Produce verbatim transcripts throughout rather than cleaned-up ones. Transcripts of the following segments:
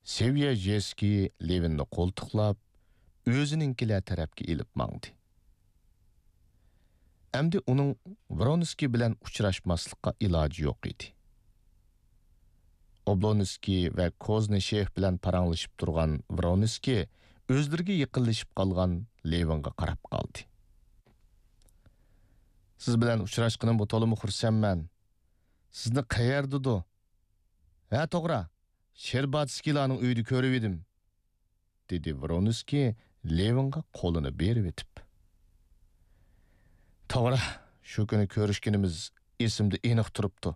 سېۋيەژېسكىي لېۋىننى قولتۇقلاپ، ئۆزىنىڭكىلەر تەرەپكە ئېلىپ ماڭدى. ئەمدى ئۇنىڭ ۋرونسكىي بىلەن ئۇچراشماسلىققا ئىلاجى يوق ئىدى. ئوبلونسكىي ۋە كوزنىشېف بىلەن پاراڭلىشىپ تۇرغان ۋرونسكىي ئۆزلىرىگە يېقىنلىشىپ قالغان لېۋىنغا قاراپ قالدى. سىز بىلەن ئۇچراشقىنىمغا تولىمۇ خۇرسەنمەن. سىزنى قەيەردىدۇ؟ ھە، توغرا، شېرباتسكىيلارنىڭ ئۆيىدە كۆرۈۋىدىم، دېدى ۋرونسكىي لېۋىنغا قولىنى بېرىۋېتىپ. توغرا، شۇ كۈنى كۆرۈشكىنىمىز ئېسىمدە ئېنىق تۇرۇپتۇ.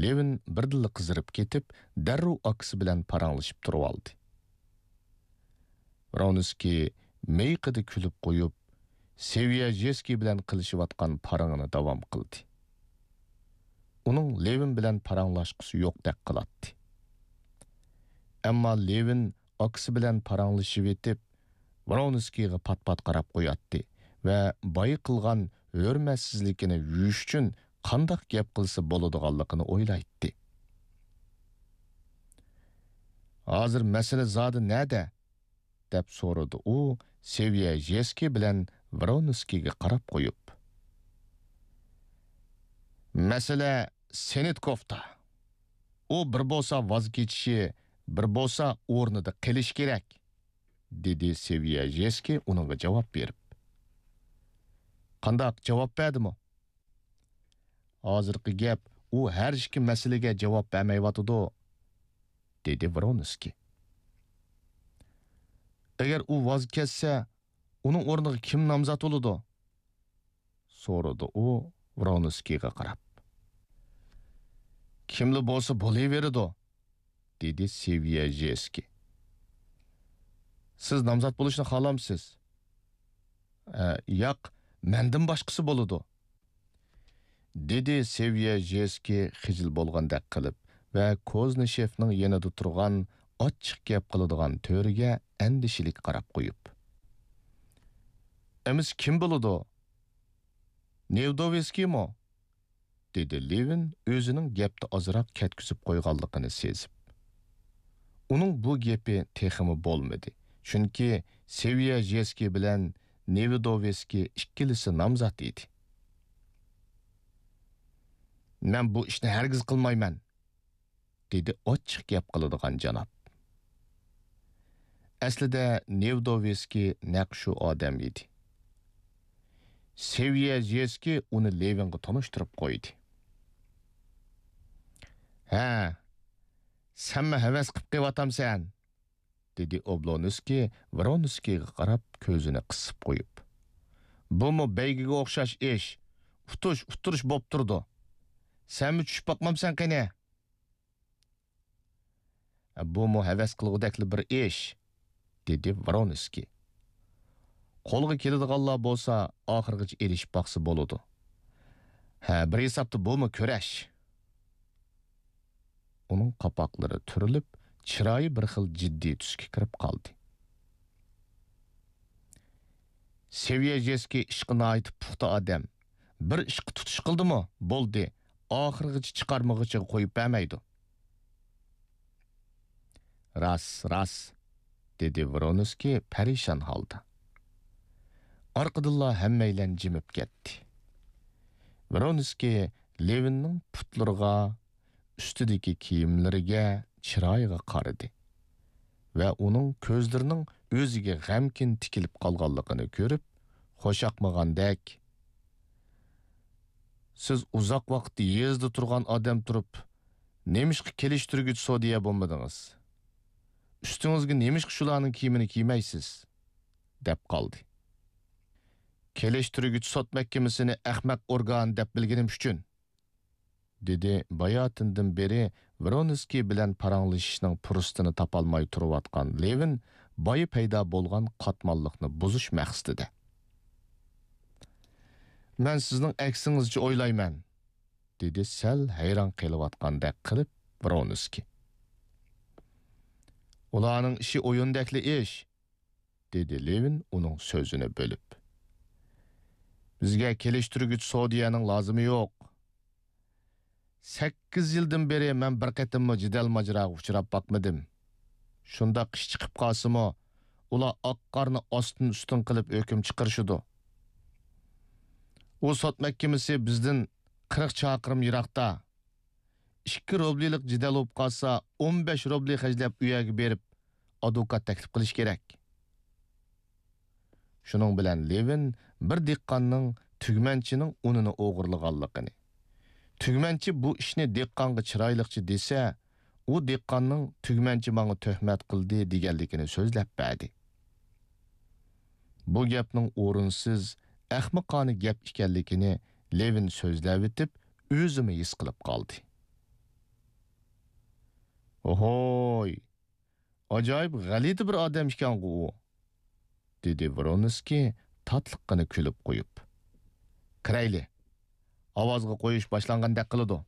لېۋىن بىردىنلا قىزىرىپ كېتىپ، دەررۇ ئاكىسى بىلەن پاراڭلىشىپ تۇرۇۋالدى. ۋرونسكىي مىيىقىدا كۈلۈپ قويۇپ، سېۋيەژېسكىي بىلەن قىلىشىۋاتقان پاراڭىنى داۋام قىلدى. ئۇنىڭ لېۋىن بىلەن پاراڭلاشقۇسى يوقتەك قىلاتتى. ئەمما لېۋىن ئاكىسى بىلەن پاراڭلىشىۋېتىپ، ۋرونسكىيغا پات-پات قاراپ قوياتتى ۋە بايا قىلغان ھۆرمەتسىزلىكىنى يۇيۇش ئۈچۈن قانداق گەپ قىلسا بولىدىغانلىقىنى ئويلايتتى. ھازىر مەسىلە زادى نەدە؟ دەپ سورىدى ئۇ سېۋيەژېسكىي بىلەن ۋرونسكىيگە قاراپ قويۇپ. مەسىلە سېنىتكوفتا. ئۇ بىر بولسا ۋاز كېچىشى، بىر بولسا ئورنىدا قېلىشى كېرەك، دېدى سېۋيەژېسكىي ئۇنىڭغا جاۋاب بېرىپ. قانداق، جاۋاب بەردىمۇ؟ ھازىرقى گەپ، ئۇ ھەر ئىككى مەسىلىگە جاۋاب بەرمەيۋاتىدۇ، دېدى ۋرونسكىي. ئەگەر ئۇ ۋاز كەچسە، ئۇنىڭ ئورنىغا كىم نامزات بولىدۇ؟ سورىدى ئۇ ۋرونسكىيغا قاراپ. كىملا بولسا بولۇۋېرىدۇ، دېدى سېۋيەژېسكىي. سىز نامزات بولۇشنى خالامسىز؟ ئە، ياق، مەندىن باشقىسى بولىدۇ، دېدى سېۋيەژېسكىي خىجىل بولغاندەك قىلىپ ۋە كوزنىشېفنىڭ يېنىدا تۇرغان ئاچچىق گەپ قىلىدىغان تۆرىگە ئەندىشىلىك قاراپ قويۇپ. ئەمىسە كىم بولىدۇ؟ نېۋدوۋېسكىيمۇ؟ دېدى لېۋىن ئۆزىنىڭ گەپتە ئازراق كەتكۈزۈپ قويغانلىقىنى سېزىپ. ئۇنىڭ بۇ گېپى تېخىمۇ بولمىدى، چۈنكى سېۋيەژېسكىي بىلەن نېۋىدوۋېسكىي ئىككىلىسى نامزات ئىدى. مەن بۇ ئىشنى ھەرگىز قىلمايمەن، دېدى ئاچچىق گەپ قىلىدىغان جاناب. ئەسلىدە نېۋدوۋېسكىي نەق شۇ ئادەم ئىدى. سېۋيەژېسكىي ئۇنى لېۋىنغا تونۇشتۇرۇپ قويدى. ھە، سەنمۇ ھەۋەس قىپ قېلىۋاتامسەن؟ دېدى ئوبلونسكىي ۋرونسكىيغا قاراپ كۆزىنى قىسىپ قويۇپ. بۇمۇ بەيگىگە ئوخشاش ئىش. ئۇتۇش، ئۇتتۇرۇش بوپ تۇرىدۇ. سەنمۇ چۈشۈپ باقمامسەن قېنى؟ بۇمۇ ھەۋەس قىلغۇدەكلا بىر ئىش، دېدى ۋرونسكىي. قولغا كېلىدىغانلار بولسا ئاخىرغىچە ئېلىشىپ باقسا بولىدۇ. ھە، بىر ھېسابتا بۇمۇ كۈرەش. ئۇنىڭ قاپاقلىرى تۈرۈلۈپ، چىرايى بىر خىل جىددىي تۈسكە كىرىپ قالدى. سېۋيەژېسكىي ئىشقا ناھايىتى پۇختا ئادەم. بىر ئىشقا تۇتۇش قىلدىمۇ، بولدى، ئاخىرغىچە چىقارمىغۇچىغا قويۇپ بەرمەيدۇ. راست، راست، دېدى ۋرونسكىي پەرىشان ھالدا. ئارقىدىنلا ھەممەيلەن جىمىپ كەتتى. ۋرونسكىي لېۋىننىڭ پۇتلىرىغا، ئۈستىدىكى كىيىملىرىگە، چىرايىغا قارىدى ۋە ئۇنىڭ كۆزلىرىنىڭ ئۆزىگە غەمكىن تىكىلىپ قالغانلىقىنى كۆرۈپ، خۇشياقمىغاندەك، «سىز ئۇزاق ۋاقىت يېزىدا تۇرغان ئادەم تۇرۇپ، نېمىشقا كېلىشتۈرگۈچ سودىيە بولمىدىڭىز؟ ئۈستىڭىزگە نېمىشقا شۇلارنىڭ كىيىمىنى كىيمەيسىز؟» دەپ قالدى. «كېلىشتۈرگۈچ سوت مەھكىمىسىنى ئەخمەق ئورگان دەپ بىلگىنىم ئۈچۈن.» دېدى باياتىندىن بېرى ۋرونسكىي بىلەن پاراڭلىشىشنىڭ پۇرسىتىنى تاپالماي تۇرۇۋاتقان لېۋىن بايا پەيدا بولغان قاتماللىقنى بۇزۇش مەقسىتىدە. «مەن سىزنىڭ ئەكسىڭىزچە ئويلايمەن»، دېدى سەل ھەيران قېلىۋاتقاندەك قىلىپ ۋرونسكىي. «ئۇلارنىڭ ئىشى ئويۇندەكلا ئىش.» دېدى لېۋىن ئۇنىڭ سۆزىنى بۆلۈپ. «بىزگە كېلىشتۈرگۈچ سودىيەنىڭ لازىمى يوق. سەككىز يىلدىن بېرى مەن بىر قېتىممۇ جېدەل ماجىراغا ئۇچراپ باقمىدىم. شۇنداق ئىش چىقىپ قالسىمۇ، ئۇلار ئاق قارنى ئاستىن ئۈستۈن قىلىپ ھۆكۈم چىقىرىشىدۇ. ئۇ سوت مەھكىمىسى بىزدىن قىرىق چاقىرىم يىراقتا. ئىككى روبلىلىق جېدەل بولۇپ قالسا، ئون بەش روبلى خەجلەپ ئۇ يەرگە بېرىپ، ئادۋوكات تەكلىپ قىلىش كېرەك. شۇنىڭ بىلەن لېۋىن بىر دېھقاننىڭ تۈگمەنچىنىڭ ئۇنىنى ئوغرىلىغانلىقىنى، تۈگمەنچى بۇ ئىشنى دېھقانغا چىرايلىقچە دېسە، ئۇ دېھقاننىڭ تۈگمەنچى ماڭا تۆھمەت قىلدى دېگەنلىكىنى سۆزلەپ بەردى. بۇ گەپنىڭ ئورۇنسىز، ئەخمىقانە گەپ ئىكەنلىكىنى لېۋىن سۆزلەۋېتىپ، ئۆزىمۇ ھېس قىلىپ قالدى. «ھوي، ئاجايىپ غەلىتە بىر ئادەم ئىكەنغۇ ئۇ»، دېدى ۋرونسكىي تاتلىققىنا كۈلۈپ قويۇپ. «كىرەيلى، ئاۋازغا قويۇش باشلانغاندەك قىلىدۇ.»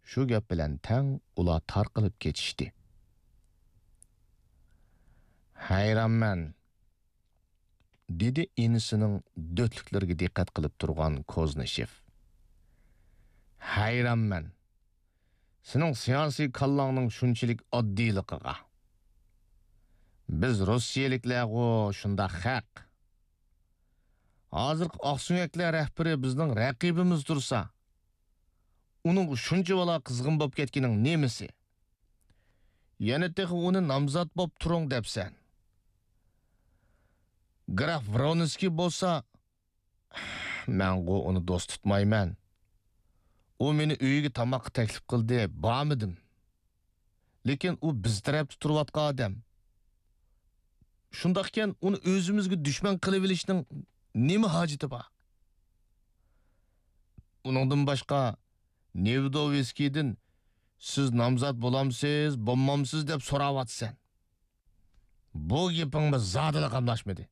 شۇ گەپ بىلەن تەڭ ئۇلار تارقىلىپ كېتىشتى. «ھەيرانمەن»، دېدى ئىنىسىنىڭ دۆتلۈكلىرىگە دىققەت قىلىپ تۇرغان كوزنىشېف. «ھەيرانمەن، سېنىڭ سىياسىي كاللاڭنىڭ شۇنچىلىك ئاددىيلىقىغا. بىز روسىيەلىكلەرغۇ شۇنداق خەق. ھازىرقى ئاقسۆڭەكلەر رەھبىرى بىزنىڭ رەقىبىمىز تۇرسا، ئۇنىڭغا شۇنچىۋالا قىزغىن بولۇپ كەتكىنىڭ نېمىسى؟ يەنە تېخى ئۇنى نامزات بوپ تۇرۇڭ دەپسەن. گراف ۋرونسكىي بولسا، مەنغۇ ئۇنى دوست تۇتمايمەن. ئۇ مېنى ئۆيىگە تاماققا تەكلىپ قىلدى، بارمىدىم. لېكىن ئۇ بىز تەرەپتە تۇرۇۋاتقان ئادەم. شۇنداقكەن، ئۇنى ئۆزىمىزگە دۈشمەن قىلىۋېلىشنىڭ نېمە ھاجىتى بار؟ ئۇنىڭدىن باشقا، نېۋېدوۋسكىيدىن، سىز نامزات بولامسىز، بولمامسىز دەپ سوراۋاتىسەن. بۇ گېپىڭمۇ زادىلا قاملاشمىدى.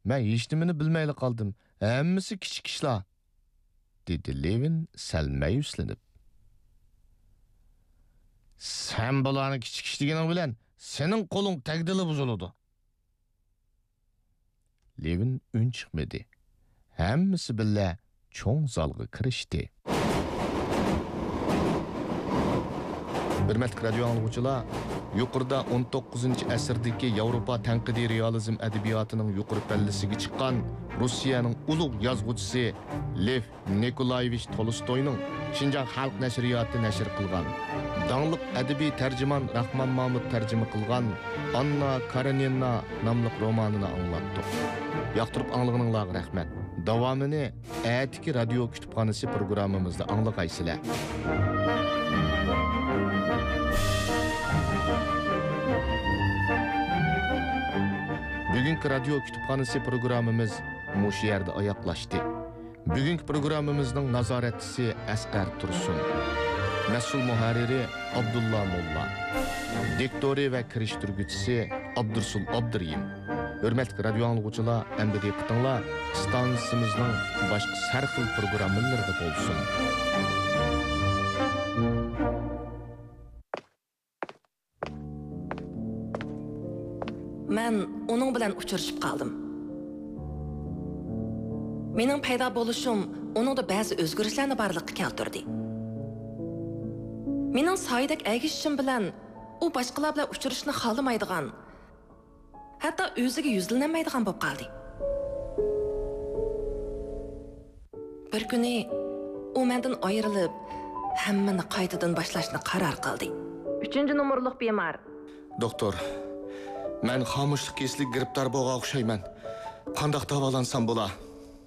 مەن ھېچنېمىنى بىلمەيلا قالدىم. ھەممىسى كىچىك ئىشلار، دېدى لېۋىن سەل مەيۈسلىنىپ. سەن بۇلارنى كىچىك ئىش دېگىنىڭ بىلەن سېنىڭ قولۇڭ تەگدىلا بۇزۇلىدۇ. لېۋىن ئۈن چىقمىدى. ھەممىسى بىللە چوڭ زالغا كىرىشتى. ھۆرمەتلىك رادىيو ئاڭلىغۇچىلار، يۇقىرىدا ئون توققۇزىنچى ئەسىردىكى ياۋروپا تەنقىدىي رېئالىزم ئەدەبىياتىنىڭ يۇقىرى پەللىسىگە چىققان روسىيەنىڭ ئۇلۇغ يازغۇچىسى لېف نىكولايېۋىچ تولستوينىڭ شىنجاڭ خەلق نەشرىياتى نەشر قىلغان داڭلىق ئەدەبىي تەرجىمان راخمان مامۇت تەرجىمە قىلغان ئاننا كارېنىنا ناملىق رومانىنى ئاڭلاتتۇق. ياقتۇرۇپ ئاڭلىغىنىڭلارغا رەھمەت. داۋامىنى ئەتىكى رادىيو كۇتۇپخانىسى پروگراممىمىزدا ئاڭلىغايسىلەر. بۈگۈنكى رادىيو كۇتۇپخانىسى پروگراممىمىز مۇشۇ يەردە ئاياغلاشتى. بۈگۈنكى پروگراممىمىزنىڭ نازارەتچىسى ئەسقەر تۇرسۇن. مەسئۇل مۇھەررىرى ئابدۇللا موللا. دىكتورى ۋە كىرىشتۈرگۈچىسى ئابدۇرسۇل ئابدۇرېھىم. ھۆرمەتلىك رادىيو ئاڭلىغۇچىلار، ئەمدى دىققىتىڭلار ئىستانسىمىزنىڭ باشقا سەرخىل پروگراممىلىرىدا بولسۇن. مەن ئۇنىڭ بىلەن ئۇچرىشىپ قالدىم. مېنىڭ پەيدا بولۇشۇم ئۇنىڭدا بەزى ئۆزگىرىشلەرنى بارلىققا كەلتۈردى. مېنىڭ سايىدەك ئەگىشىشىم بىلەن ئۇ باشقىلار بىلەن ئۇچرىشىشنى خالىمايدىغان، ھەتتا ئۆزىگە يۈزلىنەلمەيدىغان بولۇپ قالدى. بىر كۈنى ئۇ مەندىن ئايرىلىپ، ھەممىنى قايتىدىن باشلاشنى قارار قىلدى. ئۈچىنچى نومۇرلۇق بىمار. دوختۇر، مەن خامۇشلۇق كېسىلىگە گىرىپتار بولغان ئوخشايمەن. قانداق داۋالانسام بولا؟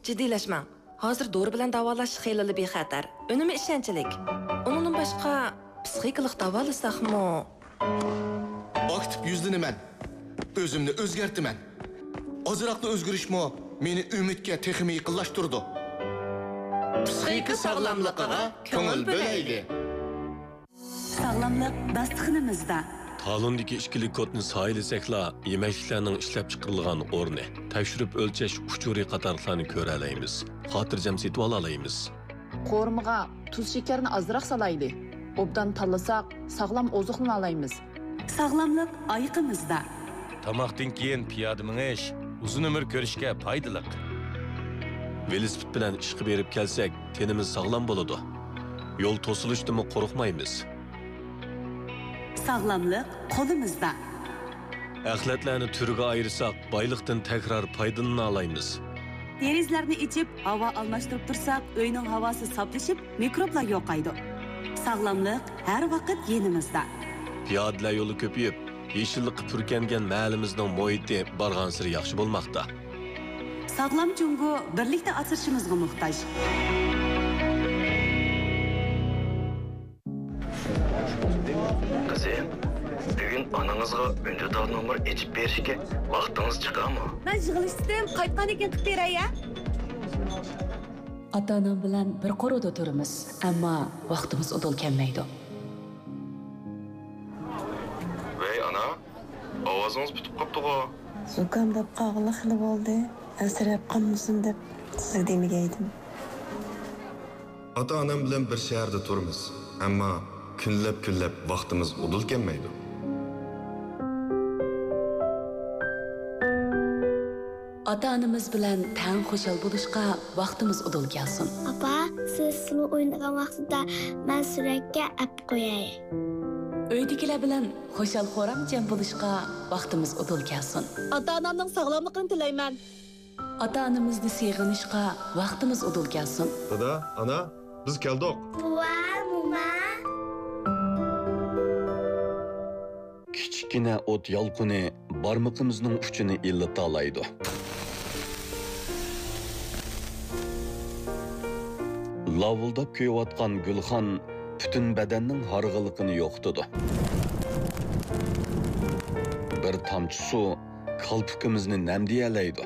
جىددىيلەشمەڭ. ھازىر دورا بىلەن داۋالاش خېلىلا بىخەتەر، ئۈنۈمى ئىشەنچلىك. ئۇنىڭدىن باشقا، پسىخىكىلىق داۋالىساقمۇ؟ ئاكتىپ يۈزلىنىمەن. ئۆزۈمنى ئۆزگەرتىمەن. ئازراقلا ئۆزگىرىشمۇ مېنى ئۈمىدكە تېخىمۇ يېقىنلاشتۇرىدۇ. پسىخىكا ساغلاملىقىغا كۆڭۈل بۆلەيلى. ساغلاملىق داستىخىنىمىزدا. تالوندىكى ئىككىلىك كودنى سايىلىسەكلا، يېمەكلىكلەرنىڭ ئىشلەپچىقىرىلغان ئورنى، تەكشۈرۈپ ئۆلچەش ئۇچۇرى قاتارلىقلارنى كۆرەلەيمىز، خاتىرجەم سېتىۋالالايمىز. قورۇمىغا تۇز شېكەرنى ئازراق سالايلى. ئوبدان تاللىساق، ساغلام ئوزۇقلىنالايمىز. ساغلاملىق ئايىقىمىزدا. تاماقتىن كېيىن پىيادە مېڭىش ئۇزۇن ئۆمۈر كۆرۈشكە پايدىلىق. ۋېلىسىپىت بىلەن ئىشقا بېرىپ كەلسەك، تېنىمىز ساغلام بولىدۇ. يول توسۇلۇشتىنمۇ قورقمايمىز. ساغلاملىق قولىمىزدا. ئەخلەتلەرنى تۈرگە ئايرىساق، بايلىقتىن تەكرار پايدىلىنالايمىز. دېرىزىلەرنى ئېچىپ، ھاۋا ئالماشتۇرۇپ تۇرساق، ئۆينىڭ ھاۋاسى ساپلىشىپ، مىكروبلار يوقايدۇ. ساغلاملىق ھەر ۋاقىت يېنىمىزدا. پىيادىلەر يولى كۆپىيىپ، يېشىللىققا پۈركەنگەن مەھەللىمىزنىڭ مۇھىتى بارغانسېرى ياخشى بولماقتا. ساغلام جۇڭگو بىرلىكتە ئاسرىشىمىزغا موھتاج. قىزىم، بۈگۈن ئانىڭىزغا ئۈندىدار نومۇر ئېچىپ بېرىشكە ۋاقتىڭىز چىقارمۇ؟ مەن يىغىلىشتىم، قايتقاندىن كېيىن قىلىپ بېرەي، ھە؟ ئاتا-ئانام بىلەن بىر قورۇدا تۇرىمىز، ئەمما ۋاقتىمىز ئۇدۇل كەلمەيدۇ. ۋەي ئانا، ئاۋازىڭىز پۈتۈپ قاپتىغۇ؟ زۇكام بولۇپ قالغىلى خېلى بولدى. ئەنسىرەپ قالمىسۇن دەپ سىزگە دېمىگەيدىم. ئاتا-ئانام بىلەن بىر شەھەردە تۇرىمىز، ئەمما كۈنلەپ-كۈنلەپ ۋاقتىمىز ئۇدۇل كەلمەيدۇ. ئاتا-ئانىمىز بىلەن تەڭ خۇشال بولۇشقا ۋاقتىمىز ئۇدۇل كەلسۇن. ئاپا، سىز سۇلۇ ئوينىغان ۋاقتىدا مەن سۈرەتكە ئەپ قوياي. ئۆيدىكىلەر بىلەن خۇشال-خۇرام جەم بولۇشقا ۋاقتىمىز ئۇدۇل كەلسۇن. ئاتا-ئانامنىڭ ساغلاملىقىنى تىلەيمەن. ئاتا-ئانىمىزنى سېغىنىشقا ۋاقتىمىز ئۇدۇل كەلسۇن. دادا، ئانا، بىز كەلدۇق. بوۋا، موما. كىچىككىنە ئوت يالقۇنى بارمىقىمىزنىڭ ئۇچىنى ئىللىتالايدۇ. لاۋۇلداپ كۆيۈۋاتقان گۈلخان پۈتۈن بەدەننىڭ ھارغىنلىقىنى يوقىتىدۇ. بىر تامچە سۇ كالپۇكىمىزنى نەمدىيەلەيدۇ.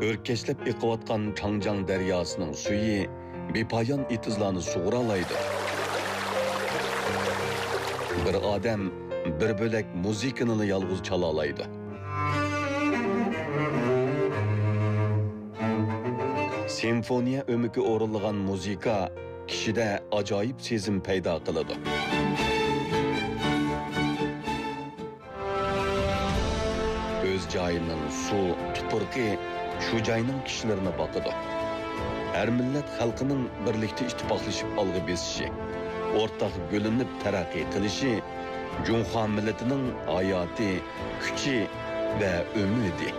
ئۆركەشلەپ ئېقىۋاتقان چاڭجياڭ دەرياسىنىڭ سۈيى بىپايان ئېتىزلارنى سۇغۇرالايدۇ. بىر ئادەم بىر بۆلەك مۇزىكىنىلا يالغۇز چالالايدۇ. سىمفونىيە ئۆمىكى ئورۇنلىغان مۇزىكا كىشىدە ئاجايىپ سېزىم پەيدا قىلىدۇ. ئۆز جايىنىڭ سۇ، تۇپرىقى شۇ جاينىڭ كىشىلىرىنى باقىدۇ. ھەر مىللەت خەلقىنىڭ بىرلىكتە ئىتتىپاقلىشىپ ئالغا بېسىشى، ئورتاق گۈللىنىپ تەرەققىي قىلىشى جۇڭخۇا مىللىتىنىڭ ھاياتى، كۈچى ۋە ئۈمىدى.